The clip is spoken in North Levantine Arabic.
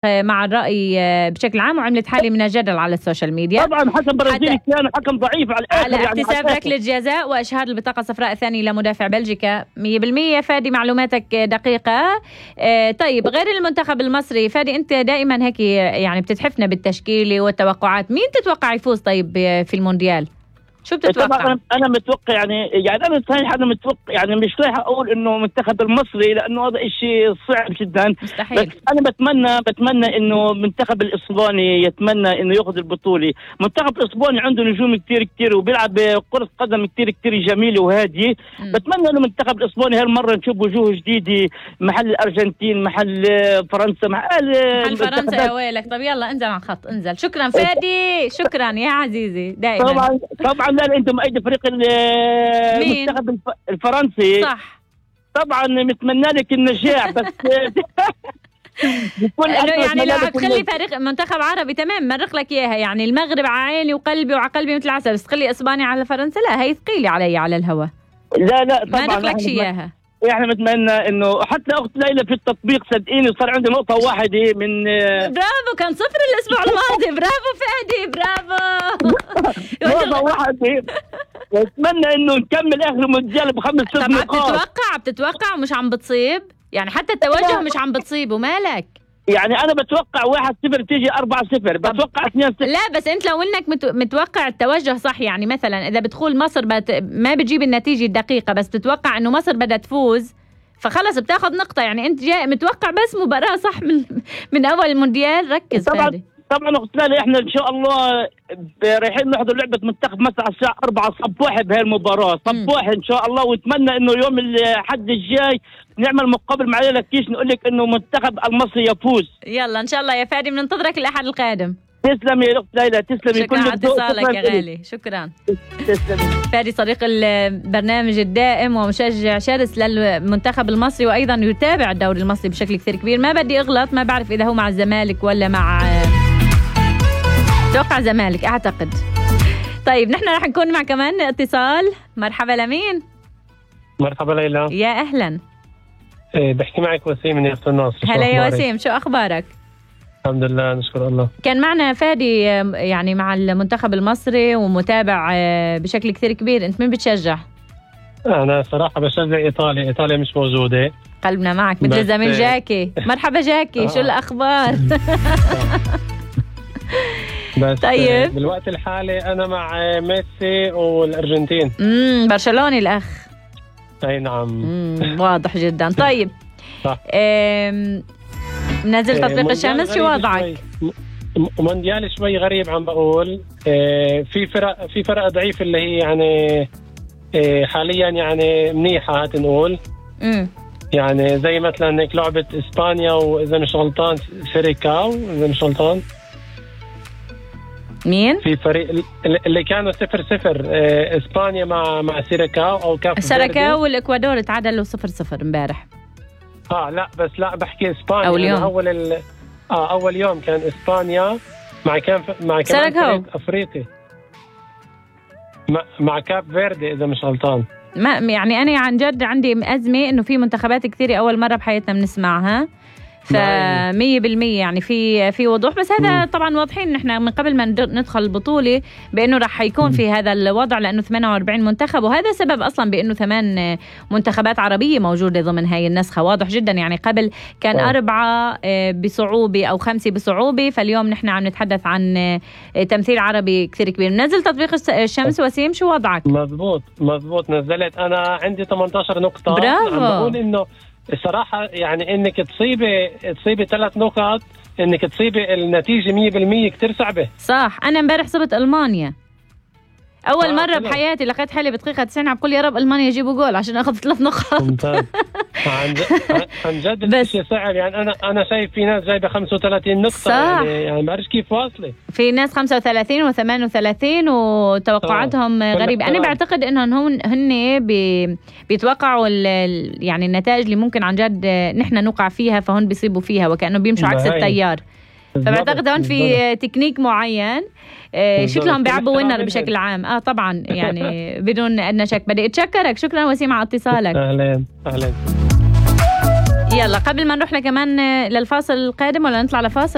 مع الرأي بشكل عام وعملت حالة من الجدل على السوشيال ميديا. طبعا حكم برازيلي كان حكم ضعيف على احتساب ركلة جزاء وإشهار البطاقة الصفراء الثانية لمدافع بلجيكا 100%. فادي معلوماتك دقيقة. طيب غير المنتخب المصري فادي، أنت دائما هيك يعني بتتحفنا بالتشكيلة والتوقعات، مين تتوقع يفوز طيب في المونديال؟ شو بتتوقع؟ طبعا انا متوقع يعني انا صحيح انا متوقع يعني مش رايح اقول انه المنتخب المصري لانه هذا شيء صعب جدا مستحيل. بس انا بتمنى انه المنتخب الاسباني يتمنى انه ياخذ البطوله. المنتخب الاسباني عنده نجوم كثير وبيلعب كرة قدم كثير جميله وهاديه. بتمنى انه المنتخب الاسباني هالمره نشوف وجوه جديده محل الارجنتين، محل فرنسا، محل فرنسا يا ويلك. طب يلا انزل عن خط، انزل. شكرا فادي، شكرا يا عزيزي دائما. طبعا لا انتم ايدي فريق المنتخب الفرنسي صح. طبعا نتمنى لك النجاح بس يعني لو بتخلي فريق منتخب عربي تمام مرق لك اياها، يعني المغرب على عيني وقلبي وعلى قلبي مثل العسل، بس تخلي اسبانيا على فرنسا لا، هي ثقيله علي على الهوا. لا طبعا ما نخلكش اياها. احنا نتمنى انه حتى اخت ليلى في التطبيق صدقيني صار عندي نقطه واحده من برافو، كان 0 الاسبوع الماضي. برافو فادي، برافو. نقطه واحده. نتمنى انه نكمل اخر المونديال ب5 نقاط. بتتوقع ومش عم بتصيب يعني، حتى التوجه مش عم بتصيب ومالك. يعني انا بتوقع 1-0 تيجي 4-0، بتوقع 2-0. لا بس انت لو انك متوقع التوجه صح، يعني مثلا اذا بتقول مصر ما بتجيب النتيجه الدقيقه بس بتتوقع انه مصر بدها تفوز فخلص بتاخذ نقطه. يعني انت جاي متوقع بس مباراه صح من اول المونديال. ركز فادي. طبعا اخت ليلى احنا ان شاء الله رايحين نحضر لعبه منتخب مصر على الساعه 4 صباح بهي المباراه صباح ان شاء الله. ونتمنى انه يوم الحد الجاي نعمل مقابل مع ليلى كيش نقول لك انه منتخب المصري يفوز. يلا ان شاء الله يا فادي، بننتظرك الاحد القادم. تسلمي يا اخت ليلى، تسلمي. شكرا على اتصالك يا غالي. شكرا. تسلمي. فادي صديق البرنامج الدائم ومشجع شرس للمنتخب المصري وايضا يتابع الدوري المصري بشكل كثير كبير. ما بدي اغلط، ما بعرف اذا هو مع الزمالك ولا مع توقع زمالك اعتقد. طيب نحن رح نكون مع كمان اتصال. مرحبا لمين؟ مرحبا ليلى. يا اهلا. بحكي معك وسيم من يافت الناصر. هلا يا وسيم، شو اخبارك؟ الحمد لله نشكر الله. كان معنا فادي يعني مع المنتخب المصري ومتابع بشكل كثير كبير. انت مين بتشجع؟ انا صراحه بشجع ايطاليا مش موجوده. قلبنا معك مثل زميل جاكي. مرحبا جاكي. شو الاخبار؟ بس طيب بالوقت الحالي انا مع ميسي والارجنتين. برشلوني الاخ. اي نعم. واضح جدا. طيب نزل تطبيق الشمس، شو وضعك؟ مونديال شوي غريب عم بقول. في فرق ضعيف اللي هي يعني حاليا يعني منيحه هات نقول. يعني زي مثلا هيك لعبه اسبانيا واذا مش غلطان سيريكاو، اذا مش غلطان مين؟ في فريق اللي كانوا 0-0 اسبانيا مع سيريكاو او كاف سيريكاو والاكوادور تعادلوا 0-0 امبارح. لا بس لا بحكي اسبانيا أول يوم. اول يوم كان اسبانيا مع كمان فريق افريقي مع كاب فيردي اذا مش غلطان. ما يعني انا عن جد عندي ازمه انه في منتخبات كثيره اول مره بحياتنا بنسمعها، ف100% يعني في وضوح. بس هذا طبعا واضحين نحن من قبل ما ندخل البطوله بانه راح يكون في هذا الوضع، لانه 48 منتخب، وهذا سبب اصلا بانه 8 منتخبات عربيه موجوده ضمن هاي النسخه. واضح جدا يعني قبل كان 4 بصعوبه او 5 بصعوبه، فاليوم نحن عم نتحدث عن تمثيل عربي كثير كبير. نزل تطبيق الشمس. وسيم شو وضعك؟ مزبوط نزلت. انا عندي 18 نقطه. برافو. عم بقول انه الصراحة يعني انك تصيبي 3 نقط، انك تصيبي النتيجة 100% كتير صعبة. صح. انا امبارح صبت المانيا اول مرة بحياتي، لقيت حالي بدقيقة 90 عم بقول يا رب المانيا يجيبوا جول عشان اخذ 3 نقاط. ممتاز. عن جد الشيء صعب. يعني انا شايف في ناس جايبه 35 نقطة. صح. يعني ما بعرفش كيف واصلة. في ناس 35 و38 وتوقعاتهم غريبة. انا بعتقد انهم هن بيتوقعوا يعني النتائج اللي ممكن عن جد نحن نوقع فيها، فهن بيصيبوا فيها وكأنه بيمشوا عكس التيار. فبعتقد هون في تكنيك معين شكلهم بيعبوا وينر بشكل عام. طبعا يعني بدون ادنى شك. بدي اتشكرك. شكرا وسيم على اتصالك. اهلا. يلا قبل ما نروح كمان للفاصل القادم ولا نطلع لفاصل